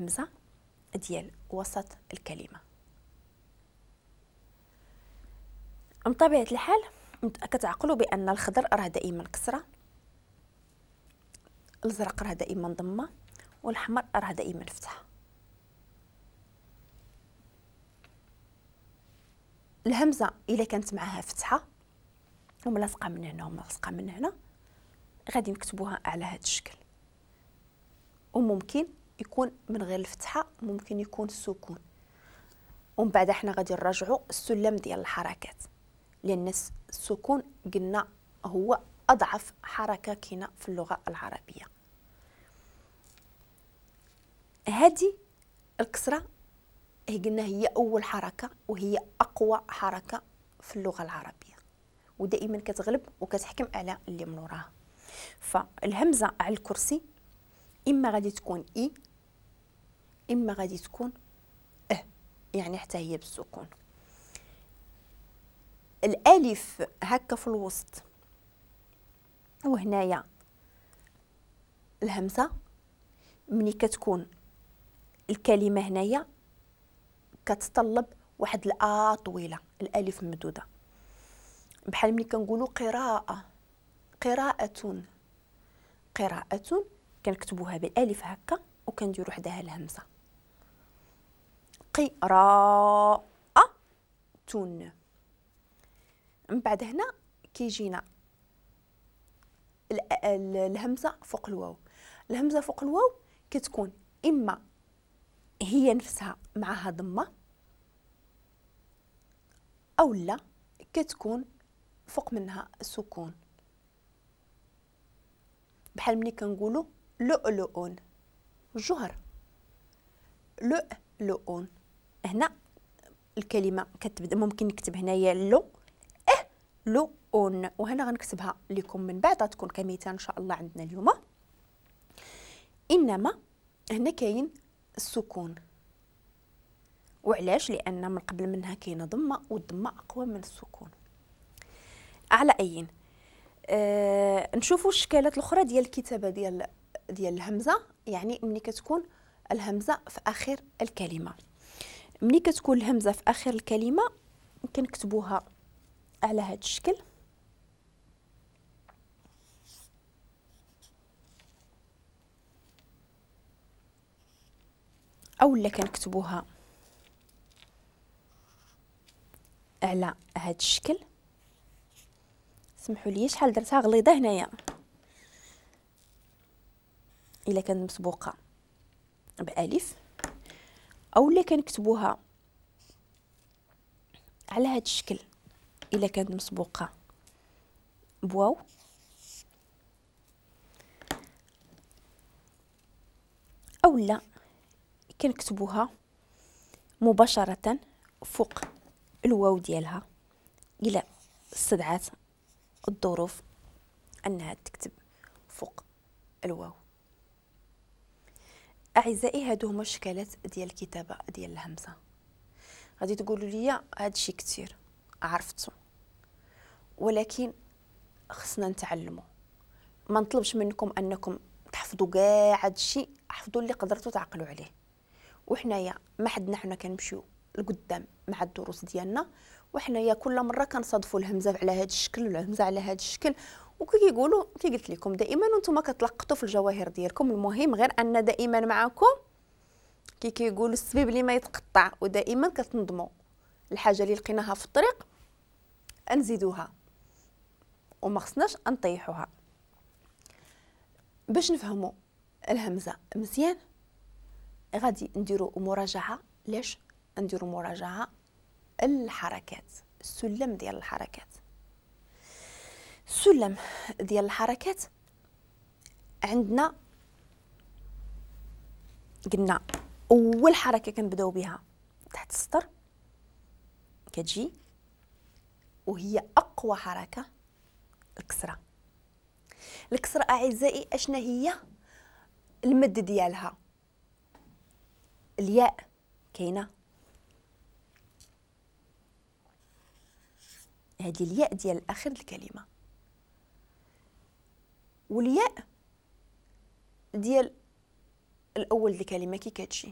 الهمزة ديال وسط الكلمة. من طبيعة الحال كتعقلوا بأن الخضر راه دائما كسرة، الازرق راه دائما ضمة، والأحمر راه دائما فتحة. الهمزة إلا كانت معها فتحة وملاصقة من هنا وملاصقة من هنا غادي نكتبوها على هذا الشكل، وممكن يكون من غير الفتحة، ممكن يكون السكون. ومن بعد احنا غادي نراجعوا السلم ديال الحركات، لأن السكون قلنا هو أضعف حركة كاينة في اللغة العربية. هذه الكسرة هي قلنا هي أول حركة وهي أقوى حركة في اللغة العربية، ودائما كتغلب وكتحكم على اللي من وراها. فالهمزة على الكرسي إما غادي تكون إي، إما غادي تكون أه، يعني حتى هي بالسكون. الألف هكا في الوسط وهنايا الهمزة، ملي كتكون الكلمة هنايا كتطلب واحد الآ طويلة، الألف ممدودة، بحال ملي كنقولوا قراءة، قراءة، قراءة كنكتبوها بالألف هكا وكنديروا حداها الهمزة، قراءة. من بعد هنا كيجينا الهمزة فوق الواو. الهمزة فوق الواو كتكون إما هي نفسها معها ضمة، أو لا كتكون فوق منها سكون، بحال ملي كنقولوا لؤلؤ، جوهر، لؤلؤ. هنا الكلمة كتبدا، ممكن نكتب هنايا لو اه لو اون، وهنا غنكتبها لكم من بعد غتكون كمثال ان شاء الله عندنا اليوم. انما هنا كاين السكون، وعلاش؟ لان من قبل منها كاينه ضمه، والضمه اقوى من السكون. على اين نشوفوا الشكالات الاخرى ديال الكتابة ديال الهمزة، يعني ملي كتكون الهمزة في اخر الكلمة. ملي كتكون الهمزة في اخر الكلمة كنكتبوها على هذا الشكل، او لا كنكتبوها على هذا الشكل. سمحوا لي شحال درتها غليظة هنايا، الا كانت مسبوقة بالف، او لا كنكتبوها على هذا الشكل الا كانت مسبوقة بواو، او لا كنكتبوها مباشرة فوق الواو ديالها الى استدعت الظروف انها تكتب فوق الواو. اعزائي هادو هما الشكالات ديال الكتابة ديال الهمزة. غادي تقولوا لي هادشي كثير عرفتو، ولكن خصنا نتعلموا. ما نطلبش منكم انكم تحفظوا كاع هادشي، حفظوا اللي قدرتوا تعقلوا عليه. وحنايا ما حدنا حنا كنمشيو لقدام مع الدروس ديالنا، وحنايا كل مرة كنصادفوا الهمزة على هذا الشكل والهمزة على هذا الشكل، وكي كيقولوا كي قلت لكم دائما وانتم كتلقطوا في الجواهر ديالكم. المهم غير ان دائما معكم كي كيقولوا السبيب اللي ما يتقطع، ودائما كتنظموا الحاجة اللي لقيناها في الطريق نزيدوها وما خصناش نطيحوها. باش نفهموا الهمزة مزيان غادي نديروا مراجعه. علاش نديروا مراجعه؟ الحركات، السلم ديال الحركات. السلم ديال الحركات عندنا قلنا اول حركة كنبداو بها تحت السطر كتجي وهي اقوى حركة، الكسرة. الكسرة اعزائي اشنا هي؟ المد ديالها الياء كاينه، هذه الياء ديال اخر الكلمة، والياء ديال الاول ديال الكلمة كي كتجي.